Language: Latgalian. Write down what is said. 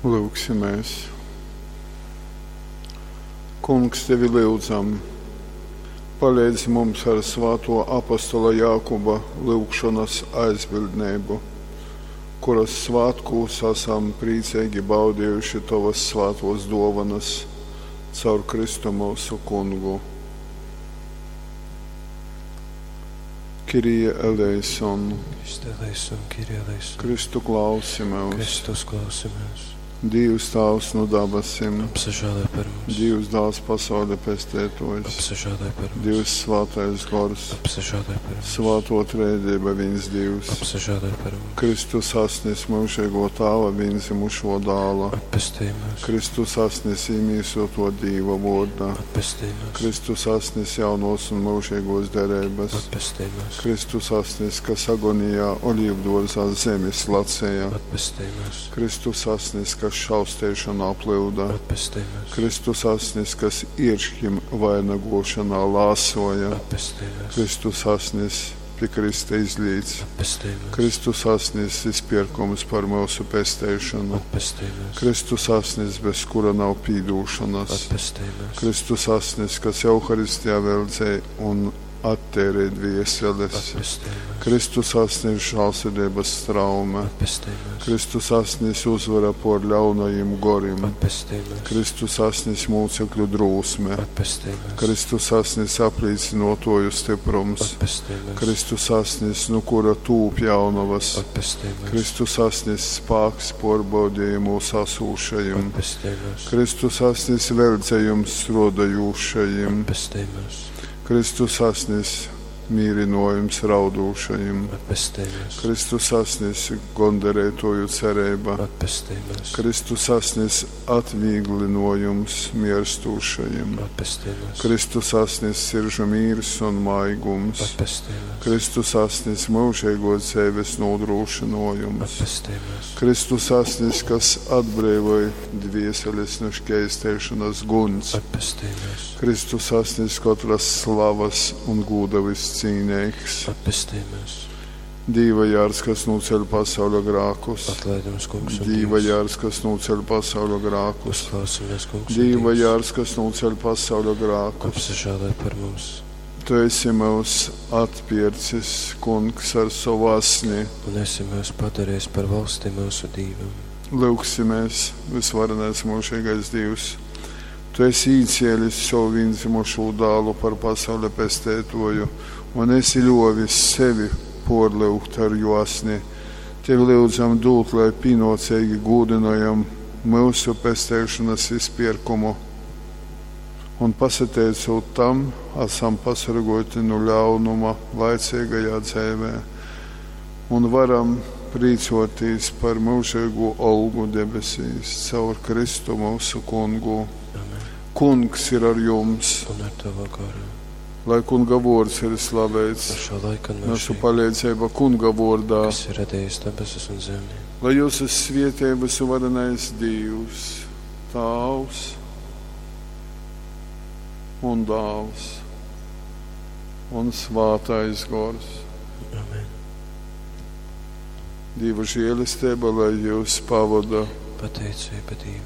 Lūgsimies! Kungs, tevi lyudzam, paleidz mums ar svāto apostola Jākuba lyugšonas aizbildneibu, kuras svātkūs asam prīceigi baudējuši tovas svātos dōvanas caur Kristu myusu Kungu. Kyrie eleison. Christe eleison, Kyrie eleison. Kristu klausi myus. Kristus klausi myus. Dīvs Tāvs nu dabasim. Apsažāloj par mums. Dīvs Dāls pasauļa pestētojs. Apsažāloj par mums. Dīvs Svātais Gors. Apsažāloj par mums. Svāto Trejdieba vīns Dīvs. Apsažāloj par mums. Kristus asnis myužīgo Tāva vīndzimušo dāla. Atpestej mūs. Kristus asnis īmīsoto Dīva vorda. Atpestej mūs. Kristus asnis jaunos un mūžīgos derības. Atpestej mūs. Kristus asnis, kas agonijā olīvduorzā zemi slacēja. Atpestej mūs. Kristus asnis, kas šausteišanā plūda. Atpestej mūs. Kristus asnis, kas ierškim vainagošanā lāsoja. Atpestej mūs. Kristus asnis pie Krista izlīts. Atpestej mūs. Kristus asnis izpirkums par mūsu pesteišanu. Atpestej mūs. Kristus asnis, bez kura nav pīdūšanas. Atpestej mūs. Kristus asnis, kas Euharistijā veldzē un attērē dvieseles. Atpestej mūs. Kristus asnis žālsirdības straume. Atpestej mūs. Kristus asnis uzvara por ļaunajiem gorim. Atpestej mūs. Kristus asnis mūcekļu drūsme. Atpestej mūs. Kristus asnis aplīcinotoju stiprums. Atpestej mūs. Kristus asnis, nu kura tūp jaunavas. Atpestej mūs. Kristus asnis spāks porbaudījumos asūšajiem. Atpestej mūs. Kristus asnis veldzējums strādājošajiem. Atpestej mūs. Kristus asnis mīrinojums raudūšajiem. Atpestej mūs. Kristus asnis gondarētoju cerība. Atpestej mūs. Kristus asnis atvieglinojums mierstūšajiem. Atpestej mūs. Kristus asnis siržu mīrs un maigums. Atpestej mūs. Kristus asnis mūžīgos dzīves nodrošinojums. Atpestej mūs. Kristus asnis, kas atbrīvoja dvieseles no šķēstēšanas guns. Atpestej mūs. Kristus asnis katras slavas un gūda viscīnīgs. Atpestej mūs. Dīva jārs, kas noceļ pasauļa grākus. Atlaid mums, kungs, un Dīva Dievs. jārs, kas noceļ pasauļa grākus. Uzklausimies, kungs, un Dīva Dievs. jārs, kas noceļ pasauļa grākus. Apsažāloj par mums. Tu esi mūs atpircis, kungs, ar savu asni. Un esi mūs padarījis par valsti mūsu Dīvam. Lūgsimies, visvarenais mūžīgais Dievs. Tu esi īcēlis savu vienzimušo dālu par pasaules pestētoju un esi ļovis sevi porlūgt ar jo asni. Tevi lūdzam dūt, lai pienācīgi gūdinojam mūsu pestēšanas izpirkumu. Un pasateicot tam, esam pasargoti no ļaunuma laicīgajā dzīvē un varam priecāties par mūžīgo algu debesīs caur Kristu mūsu kungu. Amen. Kungs ir ar jums, Un ar tavu garu. lai kunga vārds ir slavēts. No šo laiku un Mūsu mūžīgi, palīdzība kunga vārdā, kas ir radījis debesis un zemi. lai jūsu svietības varenais Dievs, Tāvs un Dāls un Svātais Gors. Amen. Dieva žēlastība, lai jūs pavada. Pateicība Dievam.